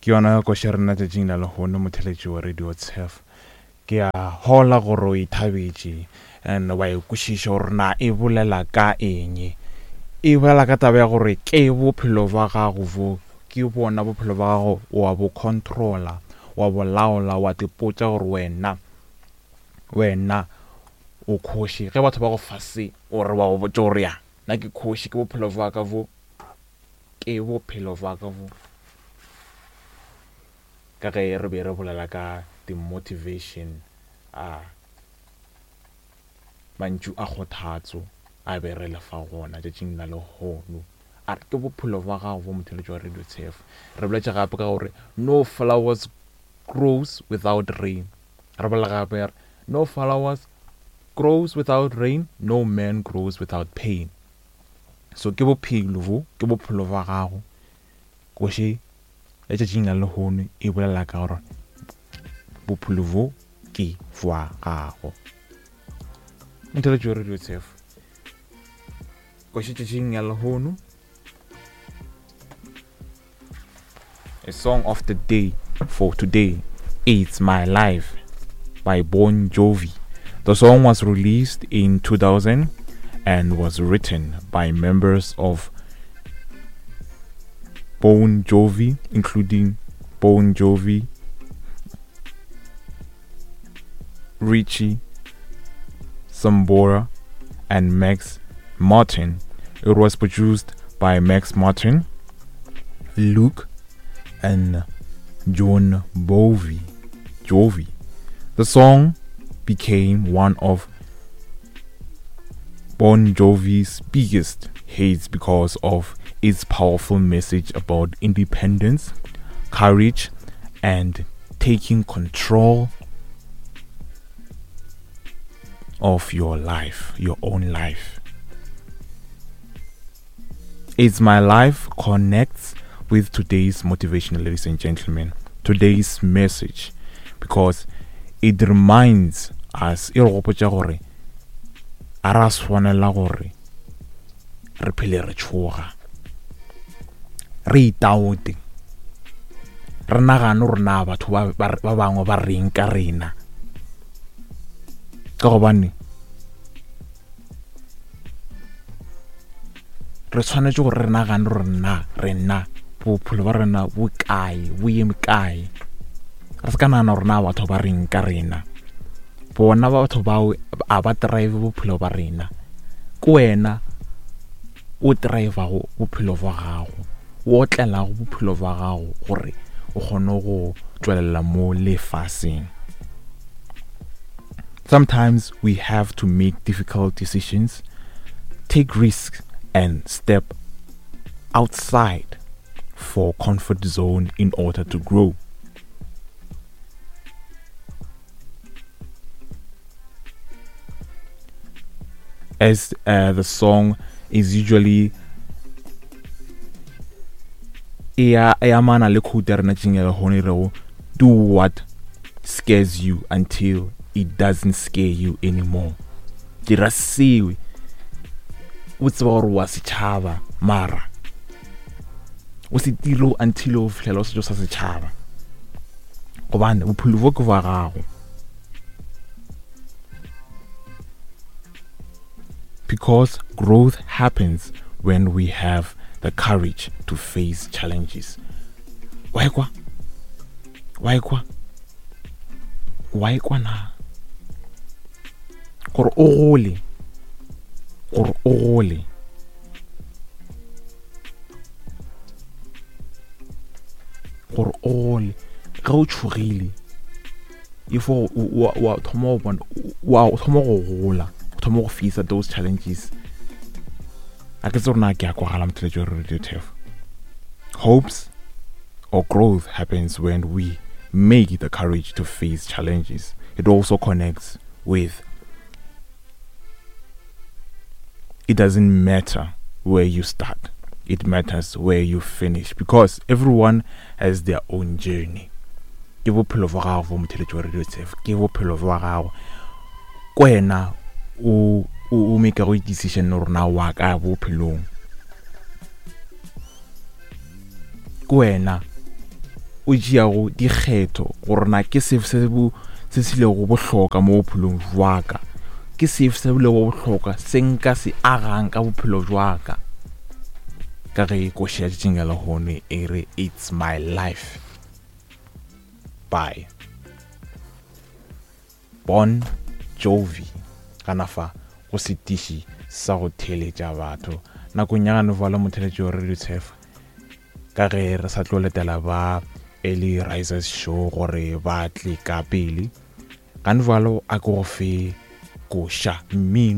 Ke yona koša ya rena tšatšing la lehono, motheletši wa Radio Turf. Ke a hola gore o ithabetše and wa e kwešiša gore na e bolela ka eng. E bolela ka taba ya gore ke bophelo bja gago bo, ke bona bophelo bja gago wa bo controller, wa bo laola, wa tipotša gore wena, wena o kgoši. Ge batho ba go fa se o re wa go botša gore ya nna ke kgoši, ke bophelo bja ka bo, ke bophelo bja ka bo. Ka ge re be re bolela ka di-motivation a mantšu a kgothatso a be re le fa gona tšatšing la lehono. A re ke bophelo bja gago bo motheletši wa Radio Tshefo. Re boletše gape ka gore no flowers grows without rain. Re bolela gape re no flowers grows without rain, no man grows without pain. So ke bophelo bo, ke bophelo bja gago. Koše letšatšing la lehono e bolela ka gore bophelo bo ke bja gago. Motheletši wa Radio Tshefo. Koše tšatšing ya lehono. A song of the day for today, It's My Life by Bon Jovi. The song was released in 2000 and was written by members of Bon Jovi, including Bon Jovi, Richie Sambora, and Max Martin. It was produced by Max Martin, Luke, and John Bovey. Jovi. The song became one of Bon Jovi's biggest hits because of its powerful message about independence, courage, and taking control of your life, your own life. It's My Life connects with today's motivation, ladies and gentlemen, today's message, because it reminds us, e re gopotša gore a ra swanela gore re phele re tšhoga, re itaote, re nagane gore na batho ba bangwe ba reng ka rena, ka gobane re tshwanetse gore re nagane gore na rena bophelo ba rena bo kae, bo eme kae. Re se ka nagana gore na batho ba reng ka rena. Bona batho bao a ba drive bophelo ba rena, ke wena o drivago bophelo bja gago, o otlelago bophelo bja gago gore o kgone go tšwelela mo lefaseng. Sometimes we have to make difficult decisions, take risks and step outside for comfort zone in order to grow. As uh, the song is usually e amana le quote ya rena tšeng ya lehono e rego do what scares you until it doesn't scare you anymore. Dira seo o tseba gore wa setšhaba mara o se tiro until o fihlela o setšo sa setšhaba gobane bophelo bo ke bja gago. Because growth happens when we have the courage to face challenges. Wa ekwa? Wa ekwa? Wa ekwa na? Gore o gole, gore o gole. Gore o gole ge o tšhogile if o wa thoma go bona wa thoma go gola o thoma go face those challenges a ke tse rona ke a kwagala motheletši wa radio tef hopes or growth happens when we make the courage to face challenges it also connects with it doesn't matter where you start it matters where you finish because everyone has their own journey ke bophelo bja gago bo motheletši wa radio tshef ke bophelo bja gago ko wena o o make go decision gore na wa ka bophelong ke wena o tšeago dikgetho gore na ke sefe se bo se se lego bohloka mo bophelong jwa ka, ke sefe se lego bohloka se nka se agang ka bophelo jwa ka. Ka ge koši ya tšatšing la lehono e re It's My Life by Bon Jovi gana fa go setiši sa go theeletša batho nakong ya gane fale motheletši wa Radio Tshefa ka ge re sa tlo letela ba Early Risers Show gore ba tle ka pele gane jalo a ke go fe koša mmino.